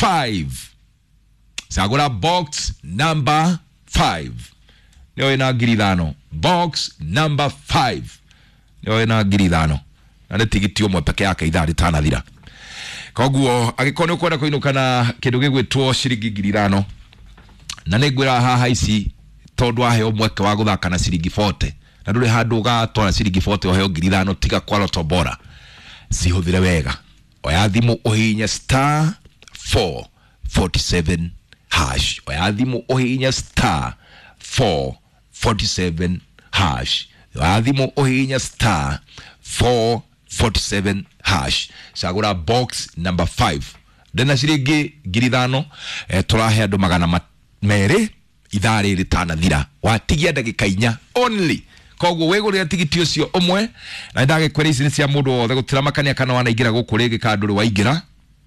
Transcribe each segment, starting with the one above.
5. Cagũra box number 5 nĩyo ĩna 5,000. Box number 5 nĩyo ĩna 5,000 na nĩ tigiti ũmwe peke yake ithaa rĩtanathira. Koguo angĩkorwo nĩ ũkwenda kũinũka na kĩndũ gĩgwĩtwo ciringi 5,000, na nĩ ngwĩra haha ici tondũ waheo mweke wa gũthaka na ciringi 40 na ndũrĩ handũ ũgatwara ciringi 40 ũheo 5,000 tiga kwa Lotto Bora, cihũthĩre wega. Oya thimũ ũhihinye star 447 hash. Oya thimũ ũhihinye star 447 hash. Oya thimũ ũhihinye star 447 hash. Cagũra box number 5. Ndĩna ciringi 5,000, tũrahe andũ 200 ithaa rĩrĩ rĩtanathira. Watigia ndagĩka 4 only. Koguo wĩgũrĩre tigiti ũcio ũmwe, na ndagĩkwĩra ici nĩ cia mũndũ wothe, gũtiramakania kana wanaingĩra gũkũ rĩngĩ kana ndũrĩ waingĩra.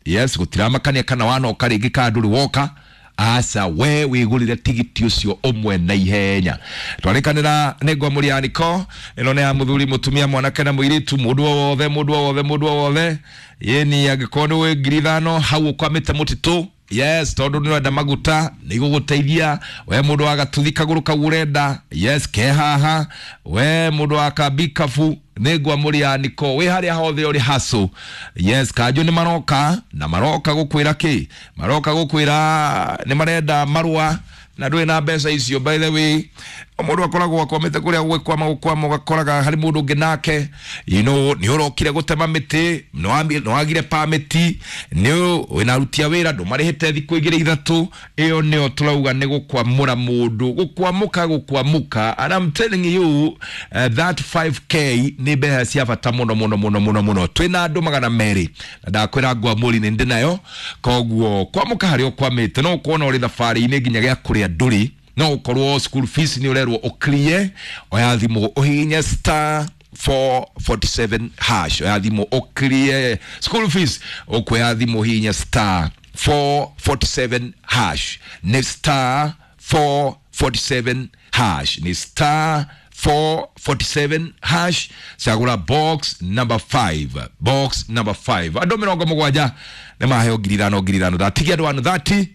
Yes, gũtiramakania kana wanoka rĩngĩ kana ndũrĩ woka. Aca, we wĩgũrĩre tigiti ũcio ũmwe na ihenya. Twarĩkanĩra nĩ ngwamũria ya niko ĩno nĩ ya mũthuri, mũtumia, mwanake na mũirĩtu, mũndũ o wothe, mũndũ o wothe, mũndũ o wothe. Yeni angĩkorwo nĩ wĩ 5,000 hau ũkwamĩte mũtitũ, yes, tondũ nĩ ũrenda maguta nĩ igũgũteithia. We mũndũ wa gatuthi kagũrũ kau ũrenda, yes, ke haha. We mũndũ wa kambikabu nĩ ngwamũria niko wĩ harĩa hothe ũrĩ hacu. Yes, kanjũ nĩ maroka na maroka gũkwĩra kĩ, maroka gũkwĩra nĩ marenda marũa na ndũrĩ na mbeca icio. By the way, mũndũ akoragwo akwamĩte kũrĩa gwĩkwama gũkwama, ũgakoraga harĩ mũndũ ũngĩ nake, you know, nĩ ũrokire gũtema mĩtĩ, nĩ wagire pamĩti, nĩ wĩna aruti a wĩra ndũmarĩhĩte thikũ 2 3. Ĩyo nĩyo tũrauga nĩ gũkwamũra mũndũ, gũkwamũka, gũkwamũka. And I'm telling you, that 5K nĩ mbeca cia bata mũno mũno mũno mũno mũno. Twĩna andũ 200 na ndakwĩra ngwamũri nĩ ndĩ nayo. Koguo kwamũka harĩa ũkwamĩte, no ũkorwo ũrĩ thabarĩ-inĩ nginya gĩa kũrĩa ndũrĩ, no ũkorwo school fees nĩ ũrerwo ũkrie. Oya thimũ ũhihinye star 447 hash. Oya thimũ ũkrie school fees, ũkuoya thimũ ũhihinye star 447 hash. Nĩ star 447 hash, nĩ star 447 hash. Cagũra box number 5, box number 5. Andũ 70 nĩ maheo 5,000 5,000. Ndatigia andũ 130,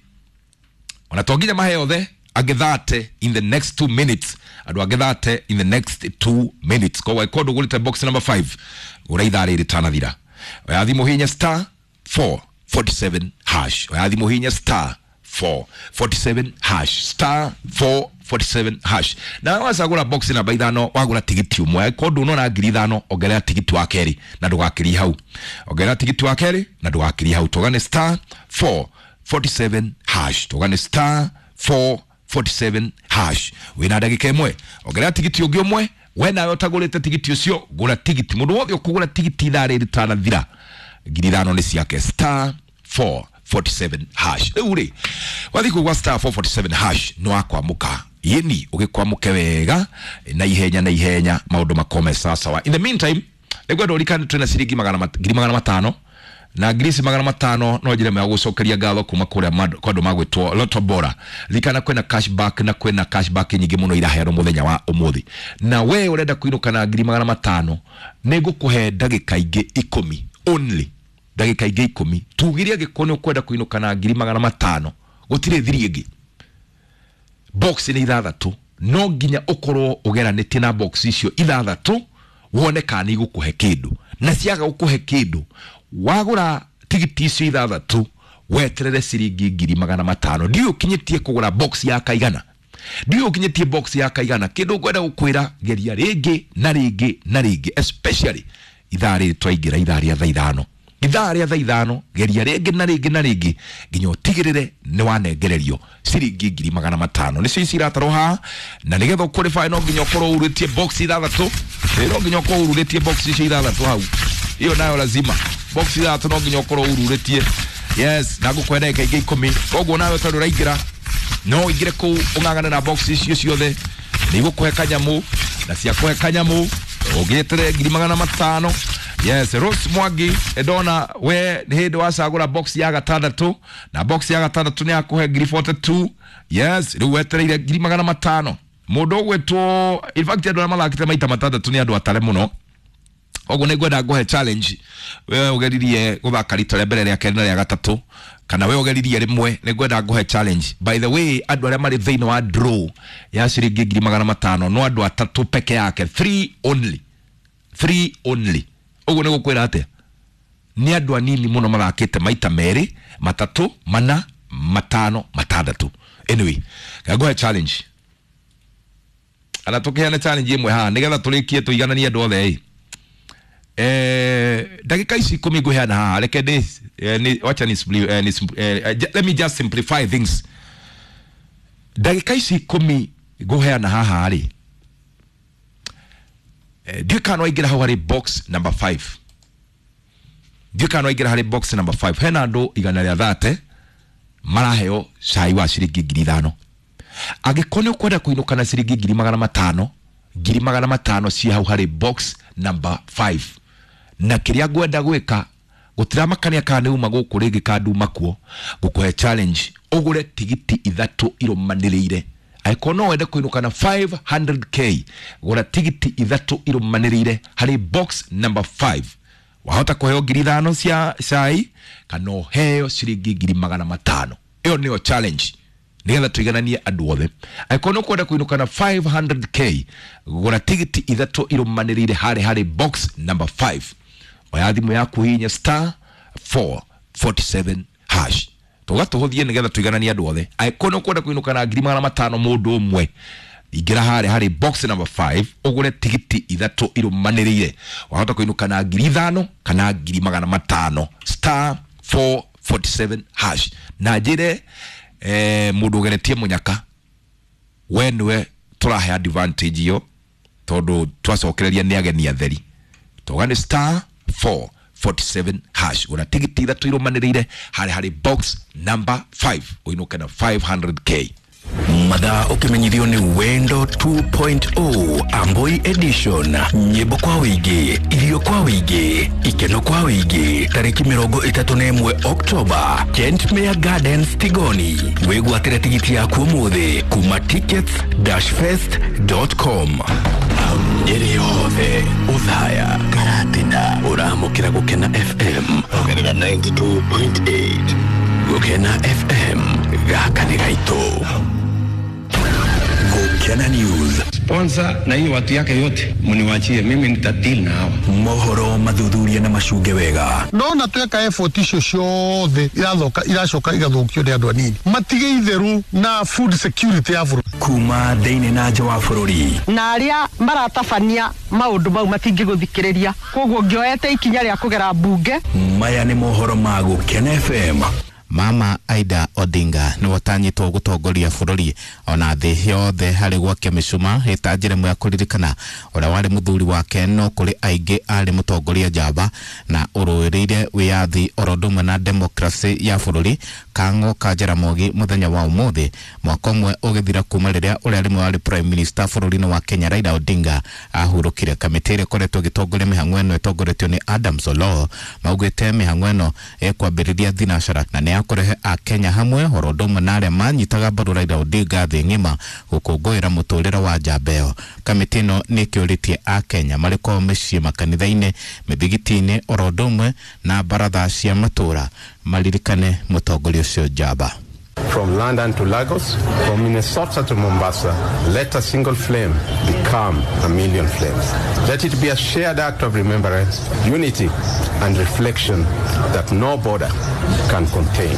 ona to nginya maheo othe, angĩ 30 in the next 2 minutes, andũ angĩ 30 in the next 2 minutes. Koguo angĩkorwo ndũgũrĩte box number 5, gũra ithaa rĩrĩ rĩtanathira. Oya thimũ hihinya star 447 hash. Oya thimũ hihinya star 447 hash, star 447 hash. Na wacagũra box namba 5, wagũra tigiti ũmwe. Angĩkorwo ndũnona 5,000, ongerera tigiti wa kerĩ na ndũgakĩrie hau. Ongerera tigiti wa kerĩ na ndũgakĩrie hau. Tũgane star 447 hash, tũgane star 447 hash. Wĩna ndagĩka 1, ongerera tigiti ũngĩ ũmwe. We nawe ũtagũrĩte tigiti ũcio, gũra tigiti. Mũndũ wothe ũkũgũra tigiti ithaa rĩrĩ rĩtanathira, 5,000 nĩ ciake. Star 447 hash. Rĩu rĩ, wathiĩ kũu gwa star 447 hash nĩ wakwamũka. Yeni ũgĩkwamũke wega na ihenya na ihenya, maũndũ makome sawasawa. In the meantime, nĩngwenda ũririkane twĩna ciringi 500,000 na ngiri ici 500 no njĩra ĩmwe ya gũcokeria ngatho kuma kũrĩa kwa andũ magwĩtwo Lotto Bora. Ririkana kwĩna cashback, na kwĩna cashback nyingĩ mũno iraheanwo mũthenya wa ũmũthĩ. Na we ũrenda kũinũka na 500,000, nĩ ngũkũhe ndagĩka ingĩ 10 only, ndagĩka ingĩ 10. Tugire angĩkorwo nĩ ũkwenda kũinũka na 500,000, gũtirĩ thiri ĩngĩ. Box nĩ 6, no nginya ũkorwo ũgeranĩtie na box icio 6 wone kana nĩ igũkũhe kĩndũ. Na ciaga gũkũhe kĩndũ, wagũra tigiti icio 6 weterere ciringi 500,000. Ndiũĩ ũkinyĩtie kũgũra box ya kaigana, ndiũĩ ũkinyĩtie box ya kaigana. Kĩndũ ngwenda gũkwĩra, geria rĩngĩ na rĩngĩ na rĩngĩ, especially ithaa rĩrĩ twaingĩra ithaa rĩa thaa 5, ithaa rĩa thaa 5, geria rĩngĩ na rĩngĩ na rĩngĩ nginya ũtigĩrĩre nĩ wanengererio ciringi 500,000. Nĩcio ici iratarwo haha, na nĩgetha ũqualify no nginya ũkorwo urĩtie box 6, no nginya ũkorwo ururĩtie box icio 6 hau. Iyo nayo lazima box 6 no nginya ũkorwo ururĩtie. Yes, na ngũkũhe ndagĩka ingĩ 10. Koguo nawe tondũ ũraingĩra, no ũingĩre kũu ũng'ang'ane na box icio ciothe, nĩ igũkũhe kanyamũ, na ciakũhe kanyamũ ũngĩeterere 500,000. Yes, Rose Mwangi ndona we nĩ hĩndĩ wacagũra box ya 6, na box ya 6 nĩ yakũhe 42. Yes, rĩu wetereire 500,000. Mũndũ ũgwĩtwo, in fact andũ arĩa mathakĩte maita 6 nĩ andũ atare mũno. Koguo nĩ ngwenda ngũhe challenge, we ũgeririe gũthaka rita rĩa mbere, rĩa kerĩ na rĩa gatatũ. Kana we ũgeririe rĩmwe, nĩ ngwenda ngũhe challenge. By the way, andũ arĩa marĩ thĩinĩ wa draw ya ciringi 500,000 no andũ atatũ peke yake, 3 only, 3 only. Ũguo nĩ gũkwĩra atĩa? Nĩ andũ anini mũno mathakĩte maita merĩ, matatũ, mana, matano, matandatũ. Anyway, ngũhe challenge. Ana tũkĩheane challenge ĩmwe haha nĩgetha tũrĩkie tũigananie andũ othe ĩ. Ndagĩka ici 10 ngũheana haha, reke ndĩ wacha ni, let me just simplify things. Ndagĩka ici 10 ngũheana haha rĩ, ndiũĩ kana no waingĩra hau harĩ box number 5. Ndiũĩ kana no waingĩra harĩ box number 5. Hena andũ 130 maraheo cai wa ciringi 5,000. Angĩkorwo nĩ ũkwenda kũinũka na ciringi 500,000, 500,000 ciĩ hau harĩ box number 5. Na kĩrĩa ngwenda gwĩka, gũtiramakania kana nĩ uma gũkũ rĩngĩ kana nduma kuo, ngũkũhe challenge ũgũre tigiti 3 irũmanĩrĩire. Angĩkorwo no wende kũinũka na 500k, gũra tigiti 3 irũmanĩrĩire harĩ box number 5. Wahota kũheo 5,000 cia cai kana ũheo ciringi 500,000. Ĩyo nĩyo challenge nĩgetha tũigananie andũ othe. Angĩkorwo nĩ ũkwenda kũinũka na 500k, gũra tigiti 3 irũmanĩrĩire harĩ box number 5. Oya thimũ yaku hihinya star 447 hash. Tũgatũhũthie nĩgetha tũigananie andũ othe. Angĩkorwo nĩ ũkwenda kũinũka na 500,000 mũndũ ũmwe, ingĩra harĩ box number 5 ũgũre tigiti 3 irũmanĩrĩire. Wahota kũinũka na 5,000 kana 500,000, star 447 hash. Na njĩre mũndũ ũgeretie mũnyaka, we nĩwe tũrahe advantage iyo tondũ twacokereria nĩ ageni atheri. Tũga nĩ star 447 hash, gũra tigiti 3 irũmanĩrĩire harĩ box number 5 ũinũke na 500k. Mathaa ũkĩmenyithio nĩ Wendo 2.0 Amboi Edition, nyĩmbo kwa wĩingĩ, irio kwa wĩingĩ, ikeno kwa wĩingĩ, tarĩki 31 Oktoba, Kentmere Gardens Tigoni. Wĩgwatĩre tigiti yaku ũmũthĩ kuma tickets-fest.com. Nyeri yothe Othaya Karatina ũramũkĩra Gũkena FM ongerera 92.8. Gũkena FM gaka nĩ gaitũ. Gũkena News. Sponsor na hiyo watu yake yote mniwachie mimi, nitadeal na hawa. Mohoro mathuthuria na macunge wega. Ndona tweka effort icio ciothe irathoka iracoka igathũkio nĩ andũ anini. Matige itheru na food security ya bũrũri. Kuma thĩinĩ na nja wa bũrũri. Na arĩa maratabania maũndũ mau matingĩgũthikĩrĩria, koguo ngĩoete ikinya rĩa kũgera mbunge. Maya nĩ mohoro ma Gũkena FM. Mama Aida Odinga nĩ watanyĩtwo gũtongoria bũrũri ona thĩ yothe harĩ gwakia mĩcuma ĩta njĩra ĩmwe ya kũririkana ũrĩa warĩ mũthuri wake, no kũrĩ aingĩ arĩ mũtongoria njamba na ũrũĩrĩire wĩyathi oro ũndũ ũmwe na demokrasi ya bũrũri. Kang'o ka Jaramogi mũthenya wa ũmũthĩ mwaka ũmwe ũgĩthira kuma rĩrĩa ũrĩa rĩmwe warĩ prime minister bũrũri-inĩ wa Kenya Raila Odinga ahurũkire. Kamĩtĩ ĩrĩa ĩkoretwo ĩgĩtongoria mĩhang'o ĩno ĩtongoretio nĩ Adams Oloo maugĩte mĩhang'o ĩno ĩkwambĩrĩria thinacara na nĩ kũrehe akenya hamwe oro ũndũ ũmwe na arĩa manyitaga mbaru Raila Odinga thĩ ng'ima gũkũngũĩra mũtũrĩre wa njamba ĩyo. Kamĩtĩ ĩno nĩ ĩkĩũrĩtie akenya marĩ kwao mĩciĩ, makanitha-inĩ, mĩthigiti-inĩ oro ũndũ ũmwe na baratha cia matũũra maririkane mũtongoria ũcio njamba. From London to Lagos, from Minnesota to Mombasa, let a single flame become a million flames. Let it be a shared act of remembrance, unity, and reflection that no border can contain.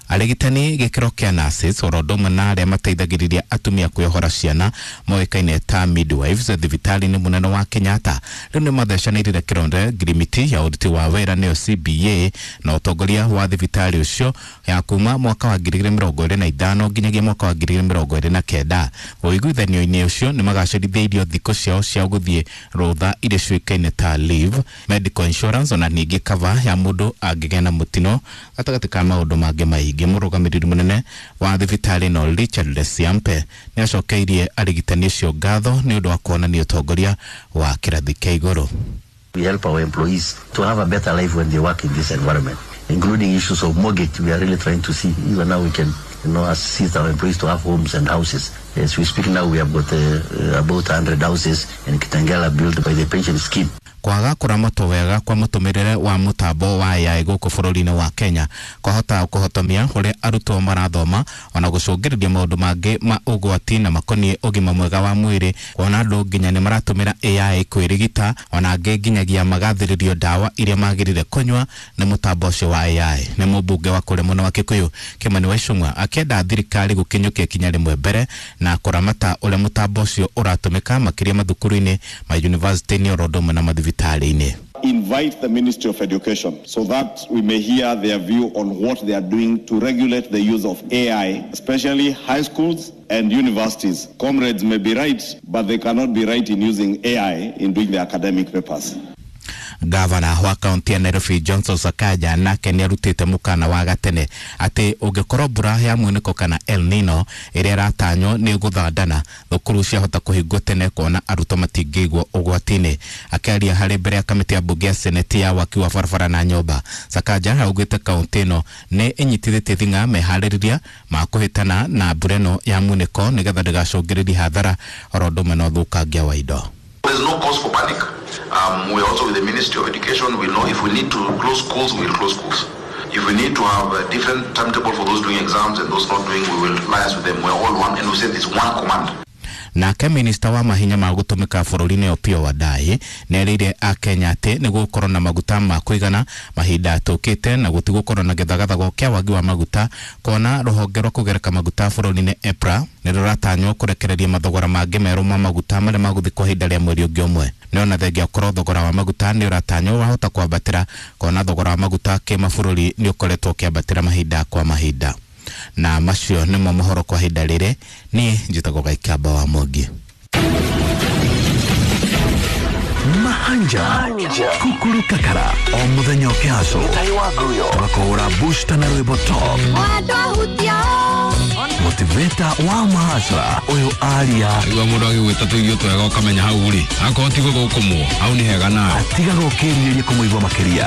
Arigitani gĩkĩro kĩa nurses oro ũndũ ũmwe na arĩa mateithagĩrĩria atumia kwĩohora ciana moĩkaine ta midwives thibitarĩ-inĩ mũnene wa Kenyatta rĩu nĩ mathecanĩrire kĩronde ngirimiti ya ũruti wa wĩra nĩyo CBA na ũtongoria wa thibitarĩ ũcio ya kuma mwaka wa 2025 nginyagia mwaka wa 2029. Ũiguithanio-inĩ ũcio nĩ magacĩrithĩirio thikũ ciao cia gũthiĩ rũtha iria ciũĩkaine ta leave, medical insurance ona ningĩ cover ya mũndũ angĩgĩa na mũtino gatagatĩ ka maũndũ mangĩ maingĩ. Mũrũgamĩrĩri mũnene wa thibitarĩ no Richard Lesiampe nĩ acokeirie arigitani acio ngatho nĩ ũndũ wa kuonania ũtongoria wa kĩrathi kĩa igũrũ. We help our employees to have a better life when they work in this environment, including issues of mortgage. We are really trying to see even now we can, you know, assist our employees to have homes and houses. As we speak now, we have got about 100 houses in Kitengela built by the pension scheme. Kwaga kũramatwo wega kwa mũtũmĩrĩre wa mũtambo wa AI gũkũ bũrũri-inĩ wa Kenya kwahota kũhotomia ũrĩa arutwo marathoma ona gũcũngĩrĩria maũndũ mangĩ ma ũgwati na makoniĩ ũgima mwega wa mwĩrĩ, kuona andũ nginya nĩ maratũmĩra AI kwĩrigita, ona angĩ nginyagia magathĩrĩrio ndawa iria magĩrĩire kũnyua nĩ mũtambo ũcio wa AI. Nĩ mũmbunge wa kũrĩa mwena wa Kikuyu Kimani wa Ichung'wa akĩenda thirikari gũkinyũkia ikinya rĩmwe mbere na kũramata ũrĩa mũtambo ũcio ũratũmĩka makĩria mathukuru-inĩ, ma university-inĩ oro ũndũ ũmwe na mathibitarĩ-inĩ. Invite the Ministry of Education so that we may hear their view on what they are doing to regulate the use of AI, especially high schools and universities. Comrades may be right, but they cannot be right in using AI in doing their academic papers. Gavana wa kaunti ya Nairobi Johnson Sakaja nake nĩ arutĩte mũkana wa gatene atĩ ũngĩkorwo mbura ya mwĩnĩko kana El Nino ĩrĩa ĩratanywo nĩ gũthandana, thukuru ciahota kũhingwo tene kuona arutwo matingĩigwo ũgwati-inĩ. Akĩaria harĩ mbere ya kamĩtĩ ya mbunge ya seneti ya waki wa barabara na nyũmba, Sakaja augĩte kaunti ĩno nĩ ĩnyitithĩtie thing'a meharĩrĩria ma kũhĩtana na mbura ĩno ya mwĩnĩko nĩgetha ndĩgacũngĩrĩrie hathara oro ũndũ ũmwe na ũthũkangia wa indo. There's no cause for panic. We are also with the Ministry of Education. We know if we need to close schools, we will close schools. If we need to have a different timetable for those doing exams and those not doing, we will liaise with them. We are all one, and we said it's one command. Nake minista wa mahinya ma gũtũmĩka bũrũri-inĩ Opiyo Wandayi nĩerĩire akenya atĩ nĩ gũgũkorwo na maguta ma kũigana mahinda tũkĩte na gũtigũkorwo na gĩthagathago kĩa wagi wa maguta, kuona rũhonge rwa kũgereka maguta bũrũri-inĩ EPRA nĩ rũratanywo kũrekereria mathogora mangĩ merũ ma maguta marĩa magũthiĩ kwa ihinda rĩa mweri ũngĩ ũmwe. Nĩ ona thengia ũkorwo thogora wa maguta nĩ ũratanywo wahota kwambatĩra, kuona thogora wa maguta kĩmabũrũri nĩ ũkoretwo ũkĩambatĩra mahinda kwa mahinda. Na macio nĩmo mohoro kwa ihinda rĩrĩ. Niĩ njĩtagwo Gaikamba wa Mwangi. Mahanja kukuru kakara o muthenya ũkĩhaco tũgakũhũra booster na rwĩmbo top motivator wa mahacra ũyũ aria igua mũndũ agĩgwĩta tũirio twega ũkamenya hau rĩ akorwo ti gũthũkũmwo hau nĩ hega nawe atigaga ũkĩrirĩria kũmũigua makĩria.